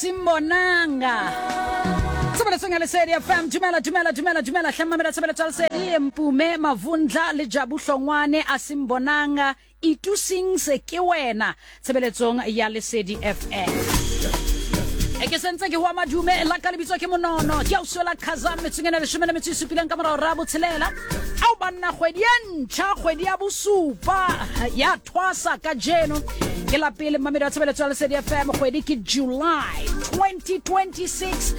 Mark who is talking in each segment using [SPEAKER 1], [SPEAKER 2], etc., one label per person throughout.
[SPEAKER 1] Asimbonanga. Tshebeletsong ya Lesedi FM. Dumela, dumela, dumela, dumela. Hle mamela tshebeletso ya Lesedi. Mpume Mavundla le Jabu Hlongwane Asimbonanga. Itusings ke wena tshebeletsong ya Lesedi FM. E ke sentse ke hoa madume la ka lebitso ke monono ke ausi la Khazam metsong ena leshome le metso e supileng ka morao ra botshelela ao banna kgwedi e ntšha kgwedi ya bosupa ya thwasa kajeno ke la pele mmamedi wa tshebeletso ya Lesedi FM kgwedi ke July 2026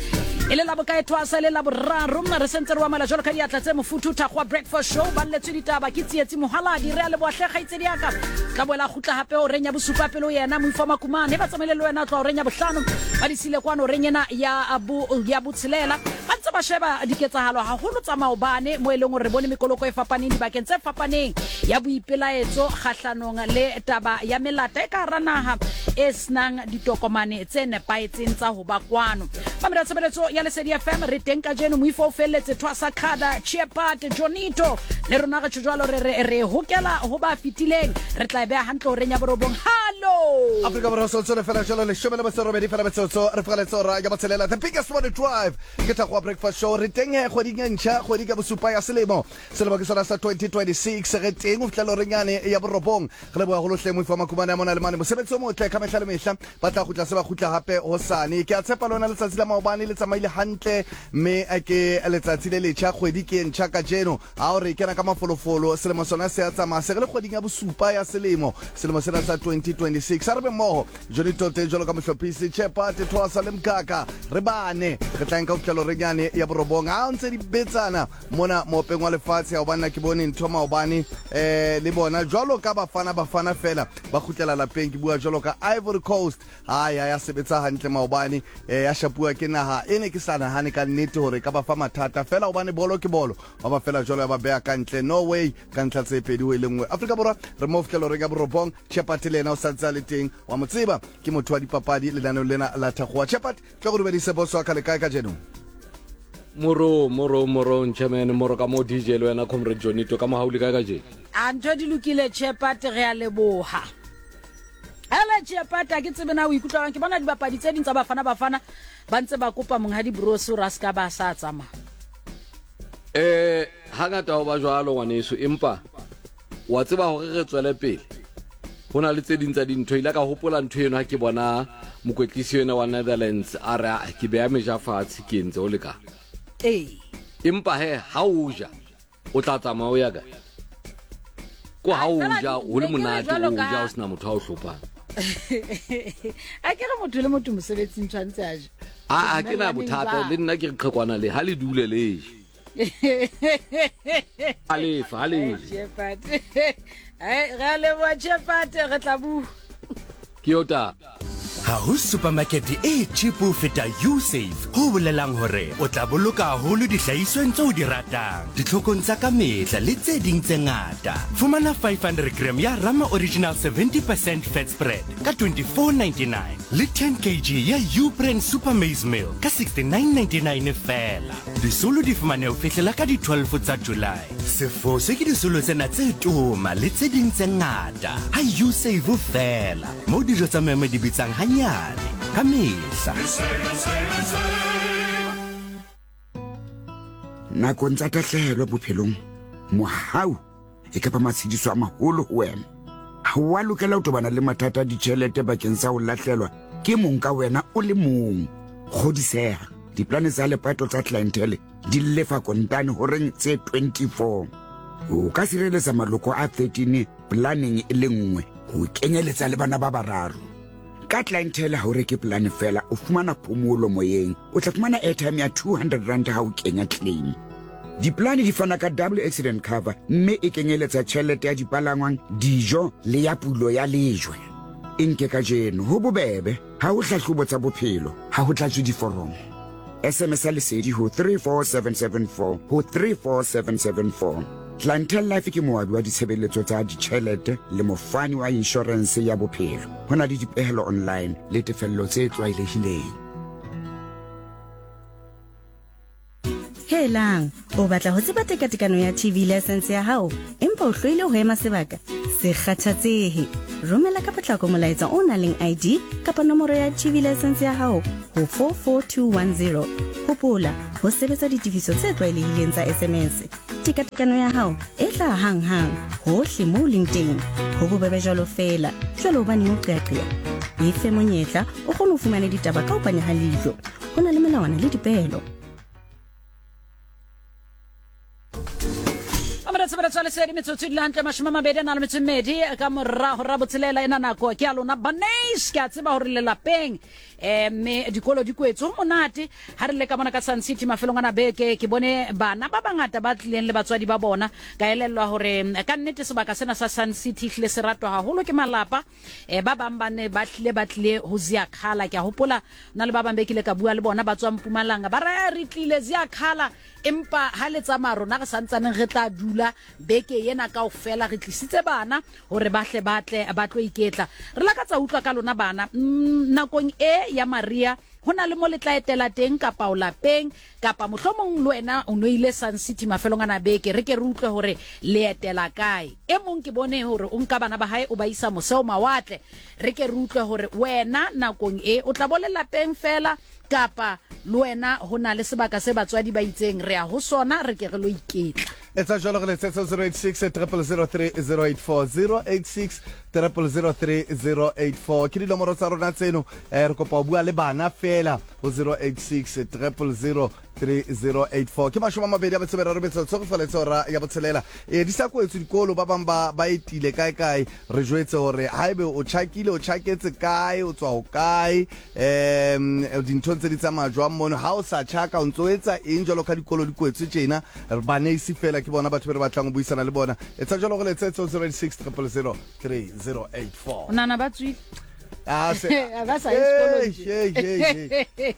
[SPEAKER 1] e le la bokae thwasa e le la boraro re sentse re wamela jalo ka diatla tse mofuthu thakgoa breakfast show ba lletswe ditaba ke tsietsi mohaladi re a leboa hle kgaitsedi yaka tla boela gutla gape o reng ya bosupa pele o yena moifo wa makumane ba tsamaile le wena o tla o reng ya bohlano ba disile kwano reng ena ya bo ya botshelela ba ntse ba sheba diketsahalo haholo tsa maobane mo e leng gore re bone mekoloko e fapaneng dibakeng tse fapaneng ya boipelaetso kgahlanong le taba ya melata e ka hara naha e senang ditokomane tse nepahetseng tsa ho ba kwano. Mamela tshebeletso ya Lesedi FM re teng kajeno moifo o felletse Thwasa Khada Chiepat Jonito le rona re tjho jwalo re re re hokela ho ba fetileng re tla e beha hantle horeng ya borobong hallo
[SPEAKER 2] Afrika Borwa sotso le fela jalo leshome le metso robedi fela metsotso re fogaletse ora ya botshelela the biggest one drive ke tla go breakfast show re teng he kgweding e ntšha kgwedi ka bosupa ya selemo Selemo ke sona sa 2026 ge teng o fihla lorenyane ya borobong. Re leboga go lohle moifa makumane a mona le mane. Mosebetsi o motle ka mehla le mehla. Ba tla kgutla se ba kgutla hape hosane. Ke a tshepa lona letsatsi la maobane le tsamaile hantle mme ke letsatsi le letjha kgwedi ke e ntjha kajeno. Ha o re kena ka mafolofolo selemo sona se a tsamaya se re le kgweding ya bosupa ya selemo. Selemo sena sa 2026. A re be mmoho Johnny Tote jwalo ka mohlophisi Chepate Thoasa le Mkaka re bane re tla nka ho fihla lorenyane ya borobong. Ha o ntse di betsana Mona moopeng wa lefatshe hobane na ke bone ntho maobane eh le bona jwalo ka bafana bafana fela ba kgutlela lapeng ke bua jwalo ka Ivory Coast ha ya ya sebetsa hantle maobane eh ya shapuwa ke naha e ne ke sa nahane ka nnete hore ka ba fa mathata fela hobane bolo ke bolo ba ba fela jwalo ya ba beha ka ntle Norway ka ntlha tse pedi ho e le nngwe Afrika Borwa re mo fihlela reng ya borobong Chepati le yena o sa ntse a le teng wa mo tseba ke motho wa dipapadi lenaneong lena la Thakgowa Chepati Tlo go dumedise boss wa ka le kae kajeno?
[SPEAKER 3] Moro, moro, moro, Nchaman, moro ka mo DJ le wena Comrade Jonito ka mo hauli kae kajeno?
[SPEAKER 1] A ntho di lokile Chepate re a leboha. Hele Chepate a ke tsebe na o ikutlwa ke bona dibapadi tse ding tsa Bafana Bafana ba ntse ba kopa monghadi Broos hore a se ka ba sa tsamaya.
[SPEAKER 3] Eh hangata ho ba jwalo ngwaneso empa Wa tseba hore re tswele pele, ho na le tse ding tsa dintho. Ile ka hopola ntho eno ha ke bona mokwetlisi ena wa Netherlands a re ah, ke beya meja fatshe ke entse ho lekana.
[SPEAKER 1] Ee.
[SPEAKER 3] Empa he ha o ja o tla tsamaya o ya kae? Ko ha o ja ho le monate o ja o sena motho a o hlophang.
[SPEAKER 1] A ke re motho le motho mosebetsing tshwanetse a je.
[SPEAKER 3] A ke na bothata le nna ke re qhekwana le ha le dule le je. A lefa, a lefe.
[SPEAKER 1] Re a leboha Chepate, re tla bua.
[SPEAKER 3] Ke yo taba.
[SPEAKER 4] Ha ho supermarket e cheap ho feta Usave, ho bolelang hore o tla boloka haholo dihlahisweng tseo o di ratang, ditlhokong tsa ka mehla le tse ding tse ngata. Fumana 500 gram ya Rama Original 70 percent fat spread ka 24.99 le 10 kg ya U-Brand Super Maize Meal ka 69.99 feela. Disolo di fumaneha ho fihlela ka di 12 tsa July. Se foswe ke disolo tsena tse toma le tse ding tse ngata ha U-Save feela, moo dijo tsa memo di bitsang hanyane ka mehla.
[SPEAKER 5] Nakong tsa tahlehelo bophelong, mohau e ka ba matshediso a maholo ho wena. Ha o a lokela ho tobana le mathata a ditjhelete bakeng sa ho lahlelwa ke mong ka wena o le mong. Kgodiseha, diplane tsa lepato tsa Clientele di lefa kontane horeng tse 24. O ka sireletsa maloko a 13 planeng e le nngwe, ho kenyeletsa le bana ba bararo. Ka Clientele ha o reke polane feela, o fumana phomolo moyeng. O tla fumana airtime ya 200 rand ha o kenya claim. Dipolane di fana ka double accident cover mme e kenyeletsa tjhelete ya dipalangwang, dijo le ya pulo ya lejwe. E nke kajeno, ho bobebe, ha ho hlahlobo tsa bophelo, ha ho tlatswe diforomo. SMS ya Lesedi ho 34774 ho 34774. Clientele Life ke moabi wa ditshebeletso tsa ditjhelete le mofani wa inshorense ya bophelo. Ho na le dipehelo online le tefello tse tlwaelehileng.
[SPEAKER 6] Helang, o batla ho tseba tekatekano ya TV license ya hao empa o hloile ho ema sebaka? Se kgathatsehe. Romela ka potlako molaetsa o nang leng ID kapa nomoro ya TV license ya hao ho 44210. Hopola ho sebetsa ditefiso tse tlwaelehileng tsa SMS. Tekatekano ya hao e tla hang-hang hohle moo o leng teng. Ho bobebe jwalo feela. Jwale hobaneng o qeaqea? E fe monyetla o kgone ho fumana ditaba ka ho panya ha leihlo. Ho na le melawana le dipeelo.
[SPEAKER 1] Tshebeletso ya lesedi metsotso e dula hantle 20 a na le metso e mmedi ka morago ra botshelela. Ena nako ke ya lona banes, ke a tseba gore lelapeng um mme dikolo di kwetse go monate. Ha re le ka mona ka Sun City mafelong ana beke, ke bone bana ba bangata ba tlileng le batswadi ba bona. Ka elellwa gore ka nnete sebaka sena sa Sun City hlile se ratwa haholo ke malapa. Ba bang ba ne ba tlile ba tlile ho Ziyakhala. Ke a hopola na le ba bang be kile ka bua le bona ba tswang Mpumalanga, ba re re tlile Ziyakhala, empa ha le tsamaya rona re santsaneng re tla dula beke ena kaofela, re tlisitse bana hore ba hle ba tle ba tlo iketla. Re lakatsa utlwa ka lona bana. Nakong e ya Maria ho na le mo le tla etela teng kapa o lapeng, kapa mohlomong le wena o no ile Sun City mafelong ana beke, re ke re utlwe hore le etela kae. E mong ke bone hore o nka bana ba hae o ba isa mose o mawatle, re ke re utlwe hore wena nakong e o tla bo le lapeng fela kapa le wena ho na le sebaka se batswadi ba itseng re ya ho sona, re ke re lo iketla.
[SPEAKER 2] Etsa jwalo, re letsetse 086 000 3084, 086 000 3084 ke dinomoro tsa rona tseno. Re kopa ho bua le bana fela ho 086 000 3084. Ke 23 metsotso go faletse ora ya botshelela. Di sa kwetswe dikolo, ba bang ba ba etile kae kae. Re jwetse hore haebe o tjhakile, o tjhaketse kae, o tswa ho kae, dintho ntse di tsamaya jwang mono. Ha o sa tjhaka, o ntso o etsa eng jwalo ka dikolo di kwetswe tjena? Baneisi fela ke bona batho be re batlang ho buisana le bona. Etsa jwalo, re letsetse 086 000 3084.
[SPEAKER 1] O nahana ba tswile?
[SPEAKER 2] Ah, se-
[SPEAKER 1] Ba sa ye sekolong
[SPEAKER 2] Hey,
[SPEAKER 1] nje.
[SPEAKER 2] hey, hey, hey.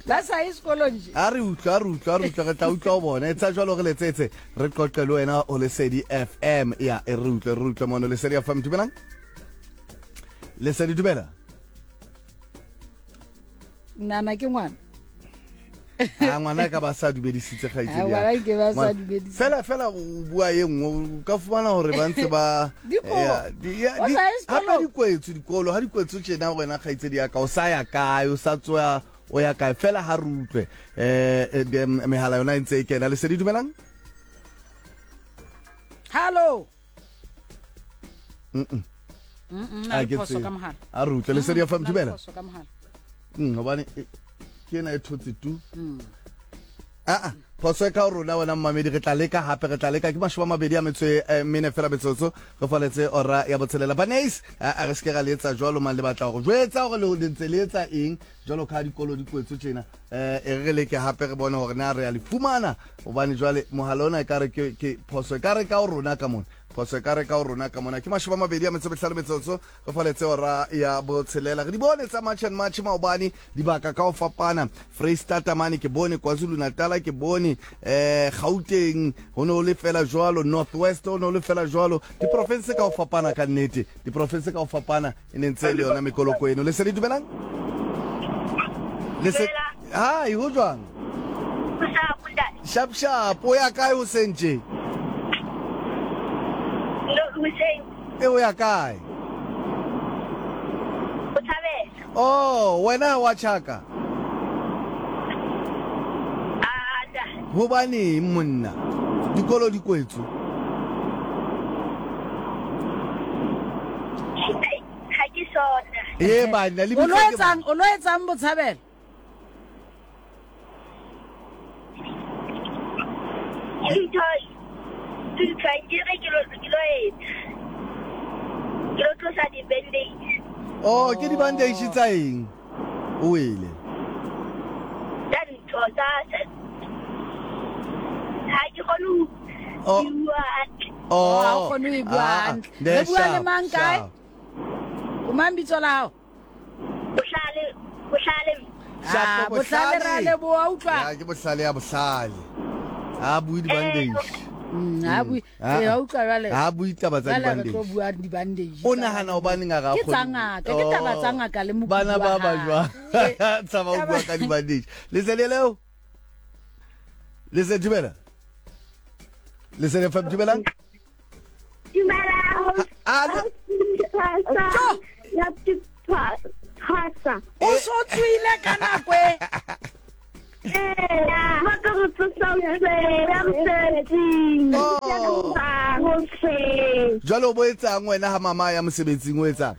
[SPEAKER 1] Ba sa ye sekolong nje.
[SPEAKER 2] A re utlwa, a re utlwa, a re utlwa, re tla utlwa ho bona. Etsa jwalo, re letsetse, re qoqe le wena ho Lesedi FM. Ya, e re utlwe, re utlwe mono Lesedi FM. Dumelang Lesedi, dumela.
[SPEAKER 1] Nana ke ngwana.
[SPEAKER 2] A ngwana ka ba sa dumedisitse kgaitsedi
[SPEAKER 1] Ah,
[SPEAKER 2] ya.
[SPEAKER 1] ngwana ke ba sa
[SPEAKER 2] Ngwana-
[SPEAKER 1] dumedisitse.
[SPEAKER 2] Fela fela o bua e nngwe, o ka fumana hore ba ntse ba
[SPEAKER 1] Dikobo.
[SPEAKER 2] Ya, ya,
[SPEAKER 1] O sa ye
[SPEAKER 2] hape
[SPEAKER 1] sekolong.
[SPEAKER 2] di kwetswe dikolo, ha di kwetswe tjena wena kgaitsedi ya ka, o sa ya kae, o sa tswa o ya kae? Fela ha re utlwe mehala yona e ntse e kena. Lesedi, dumelang.
[SPEAKER 1] Hallo.
[SPEAKER 2] A
[SPEAKER 1] Na le
[SPEAKER 2] ke
[SPEAKER 1] phoso
[SPEAKER 2] tsebe.
[SPEAKER 1] ka mohala.
[SPEAKER 2] A re utlwe. Lesedi FM,
[SPEAKER 1] Na le
[SPEAKER 2] dumela.
[SPEAKER 1] phoso ka mohala.
[SPEAKER 2] Hobane ke ena e thotse tu. Aa, phoso e ka ho rona wena mmamedi. Re tla leka hape, re tla leka. Ke 24 fela metsotso re faletse ora ya botshelela. Baneis, a re seke ra le etsa jwalo mang. Le batla hore jwetsa hore le ntse le etsa eng jwalo ka ha dikolo di kwetswe tjena? E re leke hape, re bone hore na re ya le fumana, hobane jwale mohala ona e ka re ke phoso e ka re ka ho rona ka mona, phoso e ka re ka ho rona ka mona. Ke 25 metsotso re faletse ora ya botshelela. Re di bone tsa March and March maobane, dibaka ka ho fapana. Freistata mane ke bone, KwaZulu Natal ke bone, Gauteng ho ne ho le fela jwalo, North West ho ne ho le fela jwalo, diprofinse ka ho fapana. Ka nnete diprofinse ka ho fapana e ne ntse e le yona mekoloko eno. Lesedi, dumelang.
[SPEAKER 7] Dumela.
[SPEAKER 2] Hai, ho jwang?
[SPEAKER 7] Sharp, ntate.
[SPEAKER 2] Sharp sharp. O ya kae hoseng tje?
[SPEAKER 7] No, hoseng.
[SPEAKER 2] E, o ya kae?
[SPEAKER 7] Botshabelo.
[SPEAKER 2] Oh, wena wa tjhaka?
[SPEAKER 7] Ah, ntate.
[SPEAKER 2] Hobaneng monna, dikolo di kwetswe?
[SPEAKER 7] Ga ke sona.
[SPEAKER 2] E banna le
[SPEAKER 1] O lo
[SPEAKER 2] bitsa ke
[SPEAKER 1] etsang, o lo etsang Botshabelo?
[SPEAKER 7] Ke ntho ntho ke re ke lo etsa. Ke lo tlosa di-bandage.
[SPEAKER 2] Oh, ke di-bandage tsa eng? O wele?
[SPEAKER 7] Tsa ntho tsa ha ke kgone ho
[SPEAKER 2] Oh.
[SPEAKER 7] bua hantle.
[SPEAKER 2] Oh,
[SPEAKER 1] Ha o kgone ho e bua
[SPEAKER 2] ah,
[SPEAKER 1] hantle.
[SPEAKER 2] ne,
[SPEAKER 1] Re bua le
[SPEAKER 2] sharp,
[SPEAKER 1] mang kae?
[SPEAKER 2] sharp.
[SPEAKER 1] O mang bitso la hao?
[SPEAKER 7] Bohlale, bohlale.
[SPEAKER 2] Sharp,
[SPEAKER 1] Ah, Bohlale, re a leboha, utlwa.
[SPEAKER 2] Ya, ke bohlale ya bohlale. Ha bue di-bandage.
[SPEAKER 1] Ha bue.
[SPEAKER 2] Ah,
[SPEAKER 1] Ee, wa utlwa jwale.
[SPEAKER 2] Ha bue taba tsa
[SPEAKER 1] Jwale re tlo
[SPEAKER 2] di-bandage.
[SPEAKER 1] bua di-bandage.
[SPEAKER 2] O nahana hobaneng a re
[SPEAKER 1] Ke tsa ngaka, ke taba tsa ngaka le mokudi
[SPEAKER 2] Bana
[SPEAKER 1] wa
[SPEAKER 2] ba ba
[SPEAKER 1] hae.
[SPEAKER 2] jwang? Tshaba ho bua ka di-bandage. Lesedi leo. Lesedi dumela. Lesedi FM dumelang.
[SPEAKER 7] Dumela.
[SPEAKER 2] Alo.
[SPEAKER 7] Ya thwasa.
[SPEAKER 1] O so tswile ka nako e.
[SPEAKER 7] Ee, ba ka go tsosa hoseng, ya mosebetsing.
[SPEAKER 2] Oh.
[SPEAKER 7] Hoseng.
[SPEAKER 2] Jwale o bo etsang wena ha mama ya mosebetsing o etsang?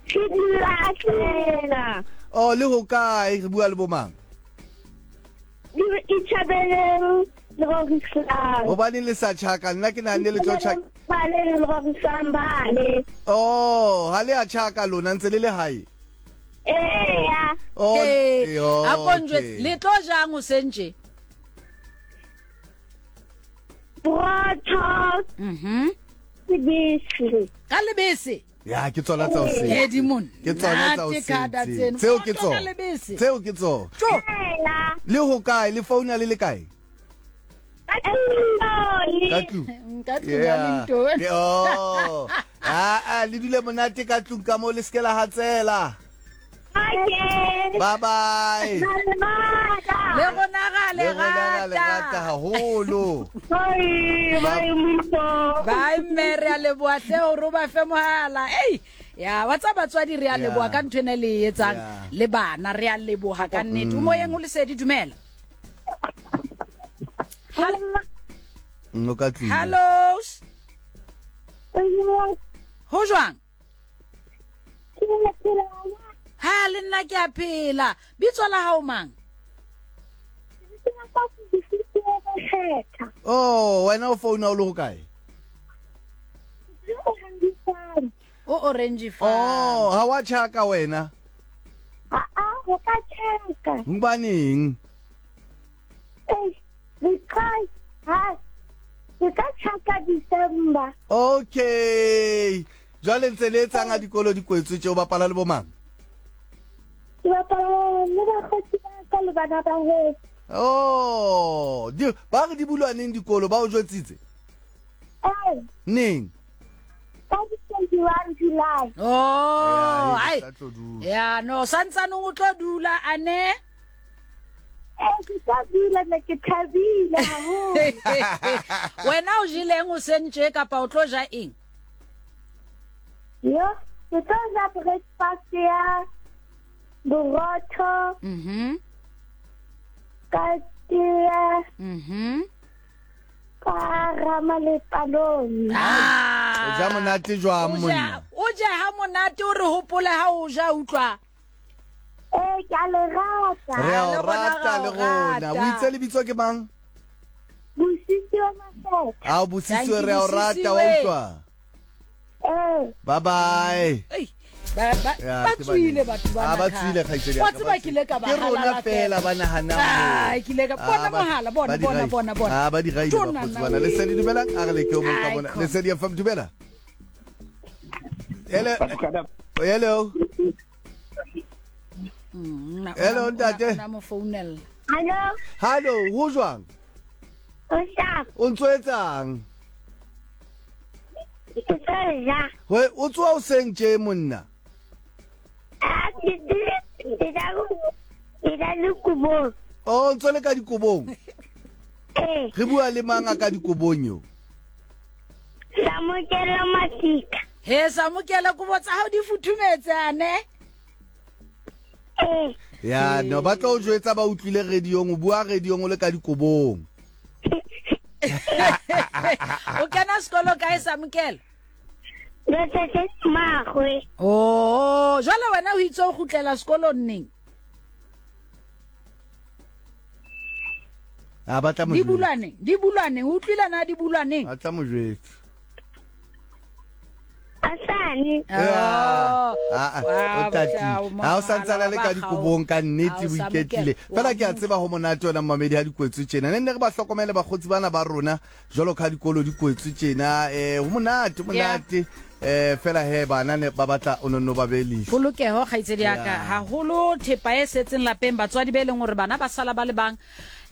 [SPEAKER 7] Ke dula fela.
[SPEAKER 2] Oh, le ho kae re bua le bomang?
[SPEAKER 7] Itjhabeleng le rorisang.
[SPEAKER 2] Hobaneng le sa tjhaka? Nna ke nahanne le tlo tjhaka.
[SPEAKER 7] Bale le rorisang bale.
[SPEAKER 2] Oh, ha le a tjhaka lona ntse le le hae.
[SPEAKER 7] Eya.
[SPEAKER 2] Oh,
[SPEAKER 1] Ee,
[SPEAKER 2] yo,
[SPEAKER 1] a ko njwetse,
[SPEAKER 2] okay.
[SPEAKER 1] le tlo jang hoseng tje?
[SPEAKER 7] Borotho.
[SPEAKER 1] Mhm.
[SPEAKER 7] Lebese.
[SPEAKER 1] Ka lebese.
[SPEAKER 2] Ya, ke tsona tsa hoseng.
[SPEAKER 1] Ke di
[SPEAKER 2] Ke tsona tsa
[SPEAKER 1] monate kada
[SPEAKER 2] hoseng.
[SPEAKER 1] tseno.
[SPEAKER 2] Tseo ke
[SPEAKER 1] Borotho ka
[SPEAKER 2] tsona.
[SPEAKER 1] lebese.
[SPEAKER 2] Tseo ke tsona.
[SPEAKER 1] Tjo.
[SPEAKER 7] Eya.
[SPEAKER 2] Le ho kae? Le founa le le kae?
[SPEAKER 7] Ka tlung.
[SPEAKER 2] Ka tlung.
[SPEAKER 1] Ka tlung ya
[SPEAKER 2] Yeah.
[SPEAKER 1] Lintone.
[SPEAKER 2] Ke- Oh. Ah, ah, le dule monate ka tlung ka moo le se ke la hatsela.
[SPEAKER 7] Okay.
[SPEAKER 2] Bye bye.
[SPEAKER 1] Le rona ra le
[SPEAKER 2] Le rona ra le rata
[SPEAKER 1] rata.
[SPEAKER 2] haholo.
[SPEAKER 7] Bye, bye, Mifo.
[SPEAKER 1] Bye mme re a leboha hle hore o ba fe mohala. Ei, ya wa tsa batswadi re a
[SPEAKER 2] Yeah.
[SPEAKER 1] leboha ka ntho ena le e etsang
[SPEAKER 2] Yeah.
[SPEAKER 1] le bana re a leboha ka nnete. O moyeng o lesedi dumela.
[SPEAKER 2] O ka tlung.
[SPEAKER 1] Hello. Ho jwang? Ha le nna ke a phela. Bitso la hao mang?
[SPEAKER 2] Oh, wena o founa o le ho kae?
[SPEAKER 1] O orange farm.
[SPEAKER 2] Oh, ha wa tjhaka wena.
[SPEAKER 7] Ah, ho ka tjhaka.
[SPEAKER 2] Hobaneng?
[SPEAKER 7] Eh, because ha ke ka tjhaka December.
[SPEAKER 2] Okay. Jwale ntse le etsang ha dikolo di kwetswe tje o bapala le bomang?
[SPEAKER 7] Ke bapala le bakgotsi ba ka le bana ba heso.
[SPEAKER 2] Oh, di ba re di bulwa neng dikolo ba o jwetsitse?
[SPEAKER 7] Eh,
[SPEAKER 2] Neng?
[SPEAKER 7] ka di 21 July.
[SPEAKER 1] Oh,
[SPEAKER 2] Ya,
[SPEAKER 1] ai.
[SPEAKER 2] sa tlo dula.
[SPEAKER 1] Ya, no, santsaneng o tlo dula ane.
[SPEAKER 7] Eh, ke tla dula ne ke thabile haholo.
[SPEAKER 1] Wena o jeleng o sentje kapa o tlo ja eng?
[SPEAKER 7] Yo, ke tlo ja breakfast ya borotho
[SPEAKER 1] Mhm.
[SPEAKER 7] ka tee
[SPEAKER 1] Mhm.
[SPEAKER 7] ka rama le palone.
[SPEAKER 1] Ah.
[SPEAKER 2] O ja monate jwang
[SPEAKER 1] O ja,
[SPEAKER 2] monna?
[SPEAKER 1] o ja ha monate o re hopole ha o ja utlwa.
[SPEAKER 7] Eh, ke a le rata.
[SPEAKER 2] Re a
[SPEAKER 1] Le
[SPEAKER 2] o
[SPEAKER 1] rona
[SPEAKER 2] rata
[SPEAKER 1] re a
[SPEAKER 2] le
[SPEAKER 1] o
[SPEAKER 2] rona.
[SPEAKER 1] rata.
[SPEAKER 2] O itse lebitso ke mang?
[SPEAKER 7] Bosisiwe Mafetha.
[SPEAKER 2] A o bosisiwe
[SPEAKER 1] Thank you,
[SPEAKER 2] re a o rata wa
[SPEAKER 1] Busisiwe.
[SPEAKER 2] utlwa.
[SPEAKER 7] Eh,
[SPEAKER 2] Bye bye.
[SPEAKER 1] Ei, ba ba
[SPEAKER 2] Ya,
[SPEAKER 1] ba
[SPEAKER 2] ke
[SPEAKER 1] tswile
[SPEAKER 2] baneng.
[SPEAKER 1] batho ba.
[SPEAKER 2] Ah, ba tswile kgaitsedi ya
[SPEAKER 1] Wa
[SPEAKER 2] ka,
[SPEAKER 1] tseba
[SPEAKER 2] ba
[SPEAKER 1] ke ile ka ba
[SPEAKER 2] Ke rona
[SPEAKER 1] halala
[SPEAKER 2] fela ba nahanang
[SPEAKER 1] Ah,
[SPEAKER 2] hore-
[SPEAKER 1] ke ile ka bona
[SPEAKER 2] Ah, ba-
[SPEAKER 1] mohala, bona
[SPEAKER 2] ba di
[SPEAKER 1] bona
[SPEAKER 2] raile.
[SPEAKER 1] bona bona.
[SPEAKER 2] Ah, ba di raile
[SPEAKER 1] Tjona
[SPEAKER 2] bakgotsi
[SPEAKER 1] nna
[SPEAKER 2] bana.
[SPEAKER 1] we.
[SPEAKER 2] Lesedi dumelang, a re leke o mong ka
[SPEAKER 1] Ai,
[SPEAKER 2] mona.
[SPEAKER 1] khona.
[SPEAKER 2] Lesedi FM dumela. Hello. Hello.
[SPEAKER 1] Mm,
[SPEAKER 2] Hello, ntate.
[SPEAKER 1] Na mo founela.
[SPEAKER 7] hallo,
[SPEAKER 2] Hallo, ho jwang?
[SPEAKER 7] o sharp.
[SPEAKER 2] O ntso etsang?
[SPEAKER 7] Ke tlo ja.
[SPEAKER 2] We o tsoha hoseng tje monna.
[SPEAKER 7] Ah, ke ke tla ke tla le kobong.
[SPEAKER 2] Oh, o ntso le ka dikobong.
[SPEAKER 7] Eh,
[SPEAKER 2] Re bua le mang a ka dikobong yo?
[SPEAKER 7] Samokela Masika.
[SPEAKER 1] He samokela kobo tsa hao di futhumetse ane.
[SPEAKER 7] Eh,
[SPEAKER 2] Ya, no ba tlo o jwetsa ba utlwile radiong, o bua radiong o le ka dikobong.
[SPEAKER 1] O kena sekolo kae samokela?
[SPEAKER 7] Letsatsi magwe.
[SPEAKER 1] Oh, jwale wena o itse o kgutlela sekolong neng?
[SPEAKER 2] Ah, ba tla mo
[SPEAKER 1] Di
[SPEAKER 2] jwetsa.
[SPEAKER 1] bulwa neng? Di bulwa neng? O utlwile na di bulwa neng?
[SPEAKER 2] Ba tla mo jwetsa.
[SPEAKER 7] Asane.
[SPEAKER 2] Ah,
[SPEAKER 1] Oh.
[SPEAKER 2] ah,
[SPEAKER 1] Wa,
[SPEAKER 2] o tatile.
[SPEAKER 1] botla, o
[SPEAKER 2] Ha o santsana le ka
[SPEAKER 1] mohala wa
[SPEAKER 2] dikobong ka nnete
[SPEAKER 1] Ha
[SPEAKER 2] o
[SPEAKER 1] o
[SPEAKER 2] iketlile.
[SPEAKER 1] samokela.
[SPEAKER 2] Fela ke a tseba ho monate wena mmamedi ha di kwetswe tjena. Ne nne re ba hlokomele bakgotsi bana ba rona jwalo ka ha dikolo di kwetswe tjena. Eh, ho monate, ho monate. Eh fela he bana ne ba batla o nonno ba behe leihlo.
[SPEAKER 1] Polokeho kgaitsedi ya ka, haholo thepa e setseng lapeng, batswadi be leng hore bana ba sala ba le bang,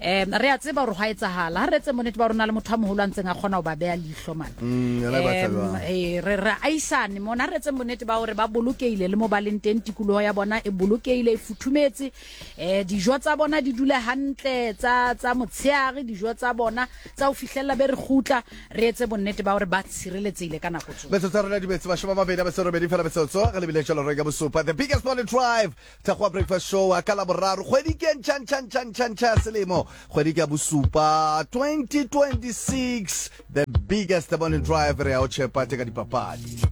[SPEAKER 1] um re a tseba hore hwa etsahala. Ha re etse bonnete ba hore na le motho a moholo a ntseng a kgona ho ba beha leihlo mane.
[SPEAKER 2] Yona e batla jwang?
[SPEAKER 1] Ee, re re aisane mona, ha re etseng bonnete ba hore ba bolokehile le mo ba leng teng, tikoloho ya bona e bolokehile, e futhumetse, um dijo tsa bona di dule hantle tsa tsa motsheare, dijo tsa bona tsa ho fihlella be re kgutla, re etse bonnete ba hore ba tshireletsehile ka nako tsohle.
[SPEAKER 2] Metsotso ya rona di betse mashome a mabedi a metso e robedi fela metsotso re lebile jalo reng ya bosupa the biggest morning drive Thakgowa breakfast show ka Laboraro kgwedi ke e ntšha ntšha ntšha ntšha ntšha ya selemo kgwedi ke ya bosupa 2026 the biggest morning drive re ya o tšhepa tse ka dipapadi.